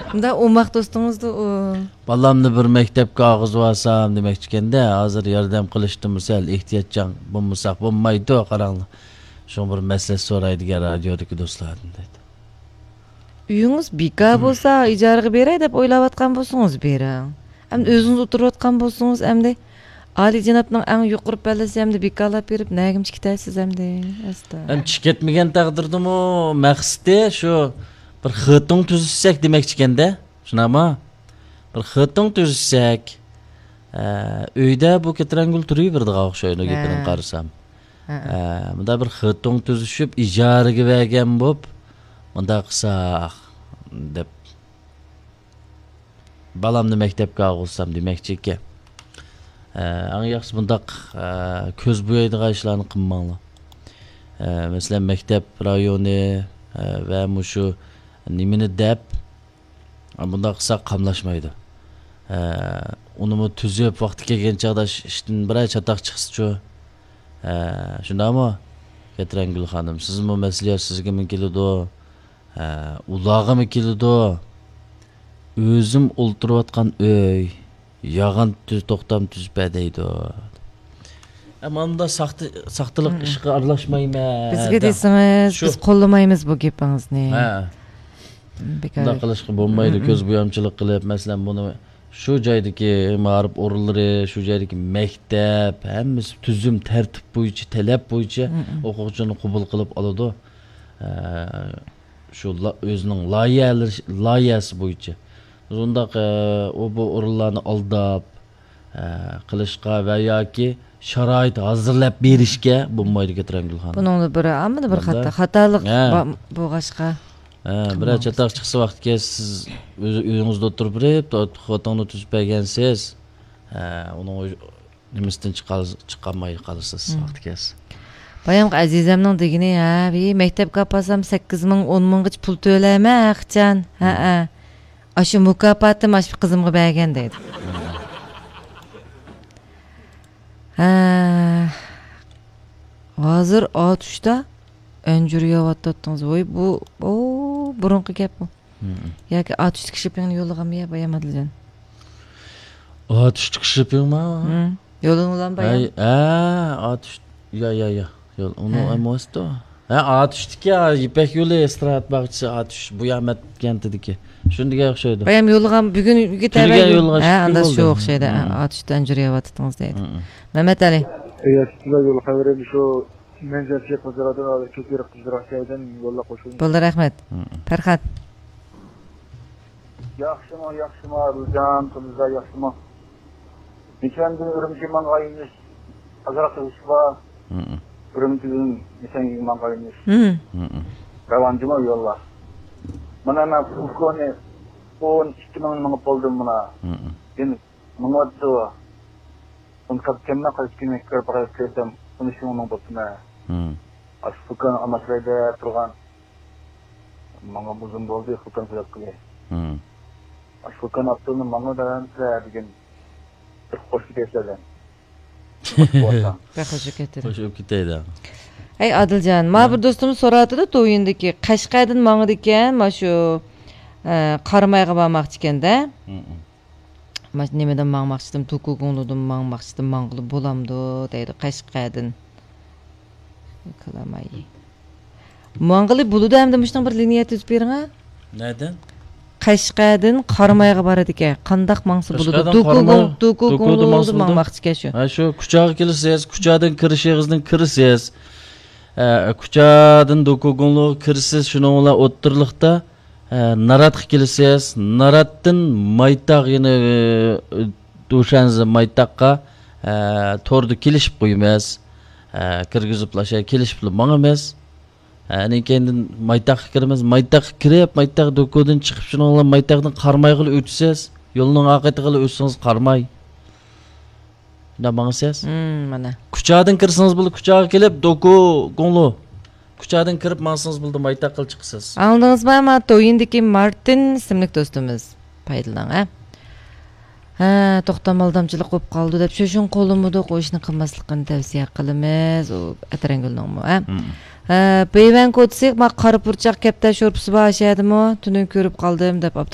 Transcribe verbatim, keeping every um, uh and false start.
مۇنداق ئوماق دوستىڭىزدۇ ئۇ. بالامنى بىر مەكتەپكە ئالغۇزۇۋالسام دېمەكچىكەندە، ھازىر ياردەم قىلىشتىمۇ سەل ئېھتىياتچان بولمىساق بولمايدۇ، قاراڭلار. شۇڭا بىر مەسلىھەت سوراي دېگەن رادىيودىكى دوستلاردىن دەيدۇ. ئۆيىڭىز بىكار بولسا، ئىجارىگە بېرەي دەپ ئويلاۋاتقان بولسىڭىز، بېرىڭ. ئەمدى ئۆزىڭىز ئولتۇرۇۋاتقان بولسىڭىز، ئەمدى ئالىيجانابنىڭ ئەڭ يۇقىرى پەللىسى ئەمدى بىكارلاپ بېرىپ، نەگىمچە كېتەرسىز ئەمدى؟ ئەستا. ئەمدى چىقىپ كەتمىگەن تەقدىردىمۇ مەقسىتى شۇ بىر خېتۇڭ تۈزۈشسەك دېمەكچىكەندە، شۇنداقمۇ؟ بىر خېتۇڭ تۈزۈشسەك، ئە، ئۆيدە بۇ كەترەنگۈل تۇرۇۋېرىدىغان ئوخشايدۇ، ھە. گېپىنى قارىسام. ھە. ئە، مۇنداق بىر خېتۇڭ تۈزۈشۈپ، ئىجارىگە بەرگەن بولۇپ، مۇنداق قىلساق دەپ، بالامنى مەكتەپكە ئالغۇزسام دېمەكچى ئىكەن. ئە، ئەڭ ياخشىسى بۇنداق، ئە، كۆز بويايدىغان ئىشلارنى قىلماڭلار. ئە، مەسىلەن، مەكتەپ رايونى، ئە، ۋە مۇشۇ نېمىنى دەپ، ئە، بۇنداق قىلساق قاملاشمايدۇ. ئە، ئۇنىمۇ تۈزۈپ، ۋاقتى كەلگەن چاغدا ئىش-، ئىشتىن بىرەر چاتاق چىقسىچۇ. ئە، شۇنداقمۇ؟ كەترەنگۈل خانىم، سىزمۇ مەسلىھەت سىزگىمۇ كېلىدۇ. ھە، ئۇلارغىمۇ كېلىدۇ. ئۆزۈم ئولتۇرۇۋاتقان ئۆي، ياغان تۈز-، توختام تۈزۈپ بەر دەيدۇ. ئە، مانا بۇنداق ساختا-، ساختىلىق ئىشقا ئارىلاشمايمەن. بىزگە دەڭ. دېسىڭىز، شۇ. بىز قوللىمايمىز بۇ گېپىڭىزنى. ھە. بىكار. بۇنداق قىلىشقا بولمايدۇ، كۆز بويامچىلىق قىلىپ، مەسىلەن، بۇنى شۇ جايدىكى مائارىپ ئورۇنلىرى، شۇ جايدىكى مەكتەپ، ھەممىسى تۈزۈم، تەرتىپ بويىچە، تەلەپ بويىچە ئوقۇغۇچىنى قوبۇل قىلىپ ئالىدۇ. ھە. شۇ لا-، ئۆزىنىڭ لايىھەلىرى، لايىھەسى بويىچە. بۇنداق، ئە، ئۇ بۇ ئورۇنلارنى ئالداپ، ئە، قىلىشقا ۋە ياكى شارائىت ھازىرلاپ بېرىشكە بولمايدۇ، كەترەنگۈل خانىم. بۇنىڭدا بىر، ئاممىدا بىر خاتا، خاتالىق ھە. با-، بولغاچقا. ھە، بىرەر چاتاق چىقسا ۋاقتى كەلسە، سىز ئۆز ئۆيىڭىزدە ئولتۇرۇپ بېرىپ، تو-، خوتۇڭنى تۈزۈپ بەرگەنسىز. ھە، ئۇنىڭ ئۆز-، نېمىسىدىن چىقال-، چىقالماي قالىسىز ۋاقتى كەلسە. بايامقى ئەزىزەمنىڭ دېگىنى، ھە، ۋى، مەكتەپكە ئاپارسام سەككىز مىڭ، ئون مىڭغىچە پۇل تۆلەيمەن، ھەقىچان. ھەئە. ئاشۇ مۇكاپاتىم ئاشۇ قىزىمغا بەرگەن دەيدۇ. ھە. ھازىر ئاتۇشتا ئەنجۈر يەۋاتاتتىڭىز. ۋوي، بۇ، ئو، بۇرۇنقى گەپ بۇ. ياكى ئاتۇشتىكى شىپىڭنى يوللىغانمۇ يا، بايام ئادىلجان؟ ئاتۇشتىكى شىپىڭمۇ؟ يوللىغانمۇ بايام؟ ھەي، ھە، ئاتۇش، يا، يا، يا. يول، ئۇنى ھە. ئەمەستۇ. ھە، ئاتۇشتىكى، ھە، يىپەك يولى ئىستىراھەت باغچىسى ئاتۇش، بۇيامەت كەنتىدىكى. شۇندىكى ئوخشايدۇ. بايام يوللىغان، بۈگۈن تۈنۈگۈن يوللىغان ھە، شۇ ئاندا شۇ بولدى. ئوخشايدۇ. ھە، ئاتۇشتا ئەنجۈر يەۋاتىتىڭىز دەيدۇ. مەمەت ئەلى. ئەگەر سىزلەر يول خەۋىرىم شۇ مەنزىرە شېخ بازىرىدىن ھازىر كۆپرەك قىزدىراق جايدىن يوللاپ قوشۇڭ. بولدى، رەھمەت. پەرھات. ياخشىمۇ، ياخشىمۇ، ئادىلجان، قىزلار ياخشىمۇ؟ نىشاندىن ئۈرۈمچى ماڭغان يۆنىلىش ئازراق ئىش بار. ئۈرۈمچىدىن نىشانگا ماڭغان يۆنىلىش. راۋان جۇمۇ يوللار. مانا مەن فۇلكونى ئون ئىككى مىڭنى مېڭىپ بولدۇم مانا. يەنە مېڭىۋاتىدۇ. ئۇنى قاپكەنمەن، قايسى كۈنى كىرىپ باقاي دېسەم، ئۇنى شۇنىڭ بولسىمەن. ئاشۇ فۇلكان ئالماشتۇراي دەپ تۇرغان. ماڭا ئۇزۇن بولدى، فۇلكان سېلىپ قىلى. ئاشۇ فۇلكان ئاپتورنى ماڭا بەرەمسىلەر دېگىن. بىر خوش كېتەيسىلەر دەم. بەك خوش كېتىدۇ. خوش بولۇپ كېتەيلى. ھەي، ئادىلجان، ما بىر دوستۇممۇ سوراۋاتىدۇ، تويىندىكى قەشقەردىن ماڭىدىكەن، ما شۇ، ئە، قارامايغا بارماقچىكەن-دە. ما نېمىدىن ماڭماقچىدىم، دوكۇگۇڭلۇدىن ماڭماقچىدىم، ماڭغىلى بولامدۇ دەيدۇ، قەشقەردىن. كالاماي. ماڭغىلى بولىدۇ ئەمدى مۇشۇنىڭ بىر لىنىيە تۈزۈپ بېرىڭە. نەدىن؟ قەشقەردىن قارامايغا بارىدىكەن. قانداق ماڭسا بولىدۇ؟ قەشقەردىن دوكۇگۇڭ، قاراماي، دوكۇگۇڭلۇدىن ماڭسىدۇ. ماڭماقچىكەن شۇ. ھە، شۇ كۇچاغا كېلىسىز، كۇچادىن كىرىشىڭىزدىن كىرىسىز. ئە، كۇچادىن دوكۇگۇڭلۇغا كىرىسىز، شۇنىڭ بىلەن ئوتتۇرىلىقتا ئە، ناراتقا كېلىسىز، ناراتتىن مايتاغ، يەنە، ئە، دۇشەنزە مايتاغقا، ئە، توردا كېلىشىپ قويىمىز. ئە، كىرگۈزۈپلا، شۇ كېلىشىپلا ماڭىمىز. ئە، ئاندىن كېيىندىن مايتاغقا كىرىمىز. مايتاغقا كىرىپ، مايتاغ دوكۇدىن چىقىپ، شۇنىڭ بىلەن مايتاغدىن قارامايغىلا ئۆتىسىز. يولنىڭ ئاقىۋىتىغىلا ئۆتسىڭىز قاراماي. شۇنداق ماڭىسىز. مم، مانا. كۇچادىن كىرسىڭىز بولىدۇ، كۇچاغا كېلىپ، دوكۇگۇڭلۇ. كۇچادىن كىرىپ ماڭسىڭىز بولىدۇ، مايتاغقىلا چىقىسىز. ئاڭلىدىڭىزمۇ؟ ما تويىندىكى مارتىن ئىسىملىك دوستىمىز. پايدىلىنىڭ، ھە. ھە، توختام ئالدامچىلىق بولۇپ قالىدۇ دەپ، شۇ شۇڭا قوللىمىدۇق، ئۇ ئىشنى قىلماسلىقىنى تەۋسىيە قىلىمىز، ئۇ ئەتىرەڭگۈلنىڭمۇ، ھە. ھە، پىۋەن كوتسىق، ما قارا پۇرچاق كەپتەر شورپىسى بار ئاشۇ يەردىمۇ؟ تۈنۈگۈن كۆرۈپ قالدىم دەپ ئاپتۇ